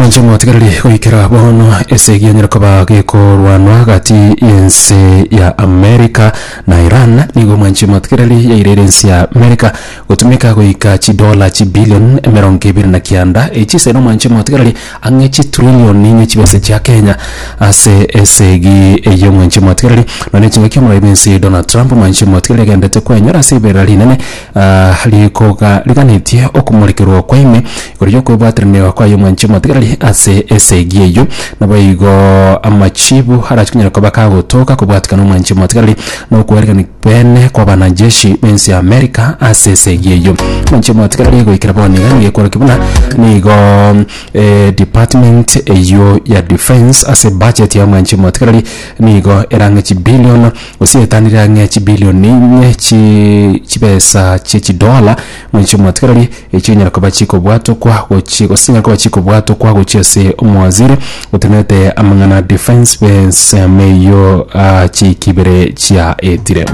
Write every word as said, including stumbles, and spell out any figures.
Mwanche motigareri, goikera bono esegi yanyara koba gekorwanwa gati y'ense ya America na Iran nigo, mwanche motigareri, yairere ense ya America gotumeka goika chidola chibillion emerongo ebere na kianda, echise no, mwanche motigareri, ang'e chitrillion inye chibesa chia Kenya ase esegi eyo. Mwanche motigareri, none chingaki omoroi bwense Donald Trump, mwanche motigareri, agendete kwenyora ase iberera rinene ah, rikoga riganetie okomorekerwa kwa ime igoro yokwebwateraniwa kwayo, mwanche motigareri, ase esegi eyo. Naboigo amachibu arachi koba kagotoka kobwatikana, omwanche motigareri, nokwerekani bene kwa banajeshi bensi ya America ase esegi eyo. Mwanche motigareri, goikera bono iga nigo ekorokia buna nigo eh, department eyo ya defense ase budget ya, mwanche motigareri, nigo erang'e chibillion gose etanire ang'e chibillion inye chi chibesa chie chidola, mwanche motigareri, echinyara koba chikobwatokwa gochi gose chinyara koba chikobwatokwa gochi ase omowaziri otenete amang'ana defense bensemo eyo uh, chikibere chia etire.